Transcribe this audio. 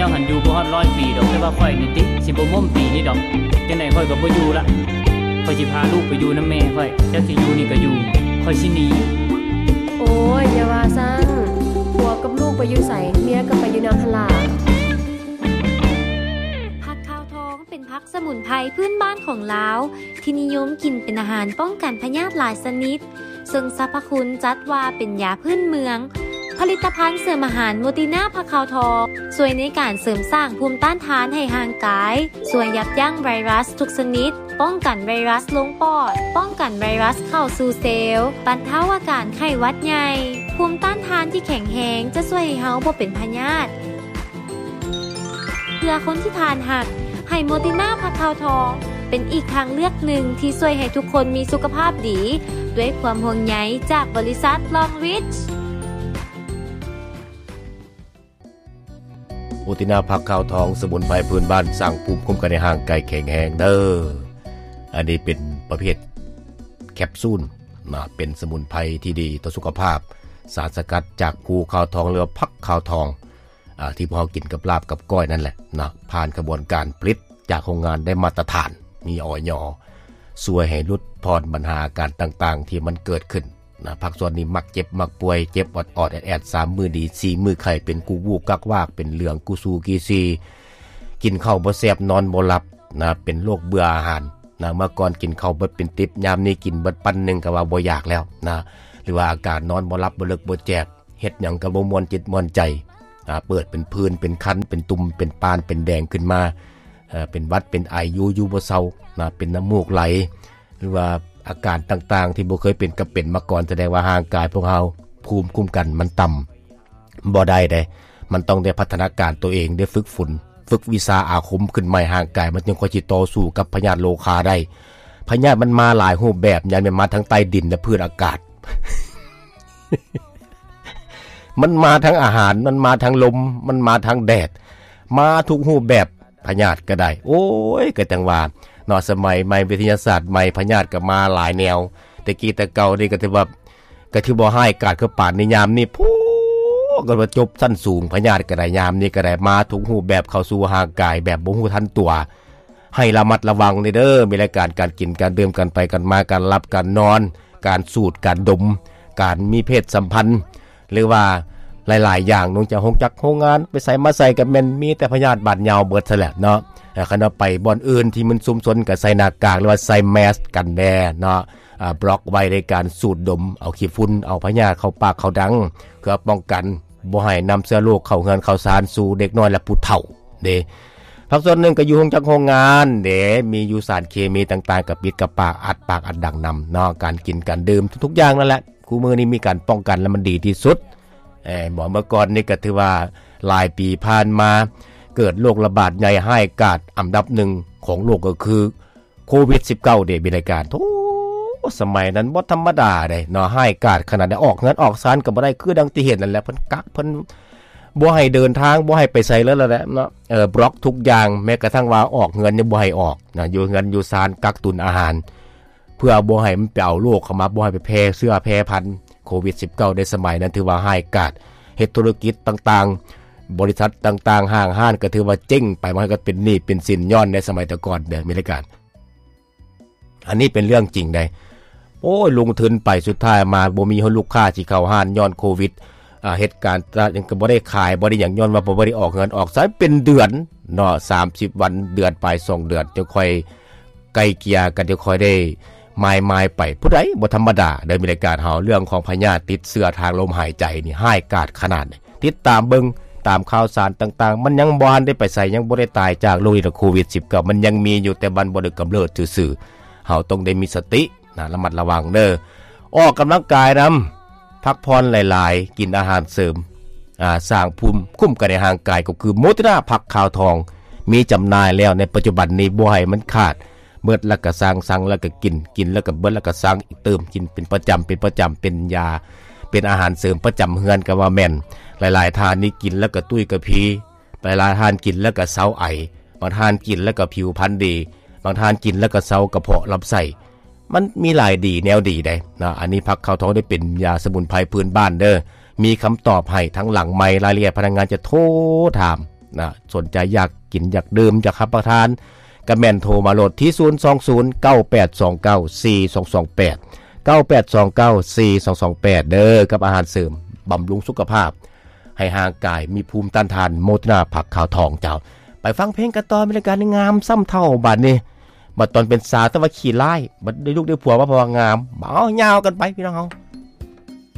ເຈົ້າຫັ້ນຢູ່ບໍ່ຮອດຮ້ອຍປີດອກ, ແຕ່ວ່າຂ້ອຍນີ້ຕິ ຊິບໍ່ໝົ້ມປີນີ້ດອກ. ຈັ່ງໃດຂ້ອຍກໍບໍ່ຢູ່ລະ. ຂ້ອຍຊິພາລູກໄປຢູ່ນຳແມ່ຂ້ອຍ. ເຈົ້າຊິຢູ່ນີ້ກໍຢູ່, ຂ້ອຍຊິໜີ. ໂອ້ຍ, ຢ່າວ່າຊັ້ນ. ຜົວກັບລູກໄປຢູ່ໃສ, ເມຍກໍໄປຢູ່ນຳຫັ້ນລະ. ຜັກຂາວທອງເປັນຜັກສະໝຸນໄພພື້ນບ້ານຂອງລາວ ທີ່ນິຍົມກິນເປັນອາຫານປ້ອງກັນພະຍາດຫຼາຍຊະນິດ. ເຊິ່ງສັບພະຄຸນຈັດວ່າເປັນຢາພື້ນເມືອງ. ຜະລິດຕະພັນເສີມອາຫານໂມຕິນາຜັກຂາວທອງ ຊ່ວຍໃນການເສີມສ້າງພູມຕ້ານທານໃຫ້ຮ່າງກາຍ, ຊ່ວຍຢັບຢັ້ງໄວຣັສທຸກຊະນິດ, ປ້ອງກັນໄວຣັສລົງປອດ, ປ້ອງກັນໄວຣັສເຂົ້າສູ່ເຊວ, ບັນເທົາອາການໄຂ້ຫວັດໃຫຍ່. ພູມຕ້ານທານທີ່ແຂງແຮງຈະຊ່ວຍໃຫ້ເຮົາບໍ່ເປັນພະຍາດ. ເພື່ອຄົນທີ່ທ່ານຮັກ, ໄຮໂມຕິນາຜັກຂາວທອງ ເປັນອີກທາງເລືອກໜຶ່ງທີ່ຊ່ວຍໃຫ້ທຸກຄົນມີສຸຂະພາບດີ ດ້ວຍຄວາມຫ່ວງໃຍຈາກບໍລິສັດລອງຣິດ. ໂມຕິນາຜັກຂາວທອງ ສະໝຸນໄພພື້ນບ້ານ ສ້າງພູມຄຸ້ມກັນໃຫ້ຮ່າງກາຍແຂງແຮງເດີ້. ອັນນີ້ເປັນປະເພດແຄບຊູນນະ, ເປັນສະໝຸນໄພທີ່ດີຕໍ່ສຸຂະພາບ, ສານສະກັດຈາກພູຂາວທອງ ຫຼືວ່າຜັກຂາວທອງ. ອ່າ ທີ່ພວກເຮົາກິນກັບລາບກັບກ້ອຍນັ້ນແຫຼະເນາະ, ຜ່ານຂະບວນການຜະລິດຈາກໂຮງງານໄດ້ມາດຕະຖານ ມີ ອຍ ຊ່ວຍໃຫ້ຫຼຸດຜ່ອນບັນຫາອາການຕ່າງໆທີ່ມັນເກີດຂຶ້ນນະ. ພາກສ່ວນນີ້ມັກເຈັບມັກປ່ວຍ, ເຈັບອອດໆແອດໆ, ສາມມື້ດີ ສີ່ມື້ໄຂ້, ເປັນກຸວຸກກັກວາກ, ເປັນເຫຼືອງກຸຊູກີຊີ, ກິນເຂົ້າບໍ່ແຊບ ນອນບໍ່ຫຼັບນະ, ເປັນໂລກເບື່ອອາຫານນະ. ເມື່ອກ່ອນກິນເຂົ້າເບິດເປັນຕິບ, ຍາມນີ້ກິນເບິດປັ້ນໜຶ່ງກໍວ່າບໍ່ຢາກແລ້ວນະ, ຫຼືວ່າອາການນອນບໍ່ຫຼັບ ບໍ່ເລິກບໍ່ແຈບ, ເຮັດຫຍັງກໍບໍ່ມ່ວນຈິດມ່ວນໃຈ, ອ່າ ເປີດເປັນຜື່ນ ເປັນຄັນ ເປັນຕຸ່ມ ເປັນປານ ເປັນແດງຂຶ້ນມາ, ເອີ ເປັນຫວັດ ເປັນໄອ ຢູ່ ຢູ່ບໍ່ເຊົານະ, ເປັນນ້ຳມູກໄຫຼ ຫຼືວ່າອາການຕ່າງໆທີ່ບໍ່ເຄີຍເປັນກໍເປັນມາກ່ອນ, ສະແດງວ່າຮ່າງກາຍພວກເຮົາພູມຄຸ້ມກັນມັນຕ່ຳ. ບໍ່ໄດ້ເດ້, ມັນຕ້ອງໄດ້ພັດທະນາການຕົວເອງ, ໄດ້ຝຶກຝົນ ຝຶກວິຊາອາຄົມຂຶ້ນໃໝ່, ຮ່າງກາຍມັນຈຶ່ງຄ່ອຍຊິຕໍ່ສູ້ກັບພະຍາດໂລຄາໄດ້. ພະຍາດມັນມາຫຼາຍຮູບແບບ, ຍາມແມ່ນມາທາງໃຕ້ດິນ ແລະ ພື້ນອາກາດ. ມັນມາທາງອາຫານ, ມັນມາທາງລົມ, ມັນມາທາງແດດ, ມາທຸກຮູບແບບ. ພະຍາດກໍໄດ້. ໂອ້ຍ ກໍຈັ່ງວ່າເນາະ, ສະໄໝໃໝ່ ວິທະຍາສາດໃໝ່, ພະຍາດກໍມາຫຼາຍແນວ. ແຕ່ກີ້ແຕ່ເກົ່ານີ້ກໍຖືວ່າ ກໍຖືບໍ່ຮ້າຍກາດຄືປານໃນຍາມນີ້. ໂພ ກໍວ່າຈົບຊັ້ນສູງ, ພະຍາດກໍໄດ້, ຍາມນີ້ກໍໄດ້, ມາທຸກຮູບແບບເຂົ້າສູ່ຮ່າງກາຍແບບບໍ່ຮູ້ທັນຕົວ. ໃຫ້ລະມັດລະວັງເດີ, ມີລາຍການການກິນການດື່ມ, ການໄປການມາ, ການຫຼັບການນອນ, ການສູດການດົມ, ການມີເພດສຳພັນ ຫຼືວ່າຫຼາຍໆຢ່າງ, ລົງຈາກໂຮງຈັກໂຮງງານ ໄປໃສມາໃສກໍແມ່ນມີແຕ່ພະຍາດບາດຍາວເບິດຊັ້ນແຫຼະເນາະ. ຄັນວ່າໄປບ່ອນອື່ນທີ່ມັນຊຸມຊົນກໍໃສ່ໜ້າກາກ ຫຼືວ່າໃສ່ແມສກັນແດ່ເນາະ, ບລັອກໄວ້ໃນການສູດດົມເອົາຂີ້ຝຸ່ນ ເອົາພະຍາດເຂົ້າປາກເຂົ້າດັງ ເພື່ອປ້ອງກັນບໍ່ໃຫ້ນຳເຊື້ອໂລກເຂົ້າເຮືອນເຂົ້າຊານສູ່ເດັກນ້ອຍ ແລະ ຜູ້ເຖົ້າເດ້. ພາກສ່ວນໜຶ່ງກໍຢູ່ໂຮງຈັກໂຮງງານເດ້, ມີຢູ່ສານເຄມີຕ່າງໆ ກໍປິດກະປາກ ອັດປາກອັດດັງນຳເນາະ. ການກິນການດື່ມທຸກໆຢ່າງນັ້ນແຫຼະ ຄູ່ມື້ນີ້ມີການປ້ອງກັນ ແລະ ມັນດີທີ່ສຸດ. ເອີ ເມື່ອ ເມື່ອກ່ອນນີ້ກໍຖືວ່າຫຼາຍປີຜ່ານມາ ເກີດໂລກລະບາດໃຫຍ່ຮ້າຍກາດອັນດັບໜຶ່ງຂອງໂລກ ກໍຄືໂຄວິດສິບເກົ້າເດ້ ມີລາຍການ. ໂທ້ ສະໄໝນັ້ນບໍ່ທຳມະດາເດ້ເນາະ, ຮ້າຍກາດຂະໜາດໃດ. ອອກເຮືອນອອກຊານກໍບໍ່ໄດ້ ຄືດັ່ງທີ່ເຫັນນັ້ນແຫຼະ, ເພິ່ນກັກ ເພິ່ນບໍ່ໃຫ້ເດີນທາງ ບໍ່ໃຫ້ໄປໃສເລີຍແຫຼະເນາະ. ເອີ ບລັອກທຸກຢ່າງ, ແມ້ກະທັ່ງວ່າອອກເຮືອນຍັງບໍ່ໃຫ້ອອກນະ, ຢູ່ເຮືອນຢູ່ຊານກັກຕຸນອາຫານ ເພື່ອບໍ່ໃຫ້ມັນໄປເອົາໂລກເຂົ້າມາ, ບໍ່ໃຫ້ໄປແຜ່ເຊື້ອແຜ່ພັນໂຄວິດສິບເກົ້າ ໃນສະໄໝນັ້ນ ຖືວ່າຮ້າຍກາດ. ເຮັດທຸລະກິດຕ່າງໆ, ບໍລິສັດຕ່າງໆ, ຫ້າງຮ້ານກໍຖືວ່າເຈັງໄປ, ບາງຄົນກໍເປັນໜີ້ເປັນສິນຍ້ອນໃນສະໄໝແຕ່ກ່ອນເດີ ມີລາຍການ. ອັນນີ້ເປັນເລື່ອງຈິງໃດ໋. ໂອ້ຍ ລົງທຶນໄປ ສຸດທ້າຍມາບໍ່ມີລູກຄ້າຊິເຂົ້າຮ້ານຍ້ອນໂຄວິດ. ອ່າ ເຮັດການຕະຫຼາດຫຍັງກໍບໍ່ໄດ້ຂາຍ ບໍ່ໄດ້ຫຍັງ ຍ້ອນວ່າບໍ່ໄດ້ອອກເຮືອນອອກຊານເປັນເດືອນເນາະ, ສາມສິບວັນ ເດືອນປາຍ ສອງເດືອນ ຈັ່ງຄ່ອຍໄກ່ເກ່ຍກັນ, ຈັ່ງຄ່ອຍໄດ້ມາຍໆໄປ. ຜູ້ໃດບໍ່ທຳມະດາເດີ ມີລາຍການເຮົາ ເລື່ອງຂອງພະຍາດຕິດເຊື້ອທາງລົມຫາຍໃຈນີ້ຮ້າຍກາດຂະໜາດໃດ. ຕິດຕາມເບິ່ງຕາມຂ່າວສານຕ່າງໆ, ມັນຍັງບໍ່ທັນໄດ້ໄປໃສ, ຍັງບໍ່ໄດ້ຕາຍຈາກໂລກນີ້ດອກ ໂຄວິດສິບເກົ້າ ມັນຍັງມີຢູ່, ແຕ່ມັນບໍ່ໄດ້ກຳເນີດຊື່ໆ. ເຮົາຕ້ອງໄດ້ມີສະຕິນະ, ລະມັດລະວັງເດີ. ອອກກຳລັງກາຍນຳ, ພັກຜ່ອນຫຼາຍໆ, ກິນອາຫານເສີມ, ອ່າ, ສ້າງພູມຄຸ້ມກັນໃນຮ່າງກາຍ ກໍຄືໂມຕິນາຜັກຂາວທອງ, ມີຈຳໜ່າຍແລ້ວໃນປັດຈຸບັນນີ້, ບໍ່ໃຫ້ມັນຂາດ. ເບິດແລ້ວກໍສັ່ງ, ສັ່ງແລ້ວກໍກິນ, ກິນແລ້ວກໍເບິດແລ້ວກໍສັ່ງອີກຕື່ມ, ກິນເປັນປະຈຳ, ເປັນປະຈຳ, ເປັນຢາ, ເປັນອາຫານເສີມປະຈຳເຮືອນກໍວ່າແມ່ນ. ຫຼາຍໆທ່ານນີ້ກິນແລ້ວກໍຕຸ້ຍກະພີ, ຫຼາຍໆທ່ານກິນແລ້ວກໍເຊົາໄອ, ບາງທ່ານກິນແລ້ວກໍຜິວພັນດີ, ບາງທ່ານກິນແລ້ວກໍເຊົາກະເພາະລຳໄສ້. ມັນມີຫຼາຍດີແນວດີໃດ໋ເນາະ. ອັນນີ້ຜັກຂາວທອງໄດ້ເປັນຢາສະໝຸນໄພພື້ນບ້ານເດີ, ມີຄຳຕອບໃຫ້ທັງຫຼັງໄມ, ລາຍລະອຽດພະນັກງານຈະໂທຖາມ ນະ ສົນໃຈຢາກກິນ ຢາກດື່ມ ຢາກຮັບປະທານ ກະແມ່ນໂທມາໂລດທີ່ ສູນສອງສູນ ເກົ້າແປດສອງເກົ້າ ສີ່ສອງສອງແປດ ເກົ້າແປດສອງເກົ້າ ສີ່ສອງສອງແປດ ເດີ ກັບອາຫານເສີມບຳລຸງສຸຂະພາບ ໃຫ້ຮ່າງກາຍມີພູມຕ້ານທານ ໂມໂຕນາຜັກຂາວທອງເຈົ້າ. ໄປຟັງເພງກັນຕໍ່ ມີລາຍການງາມຊ້ຳເທົ້າບາດນີ້. ບັດຕອນເປັນສາວແຕ່ວ່າຂີ້ຮ້າຍ ບັດໄດ້ລູກໄດ້ຜົວມາເພາະວ່າງາມ. ເອົາ ຍາວກັນໄປພີ່ນ້ອງເຮົາ.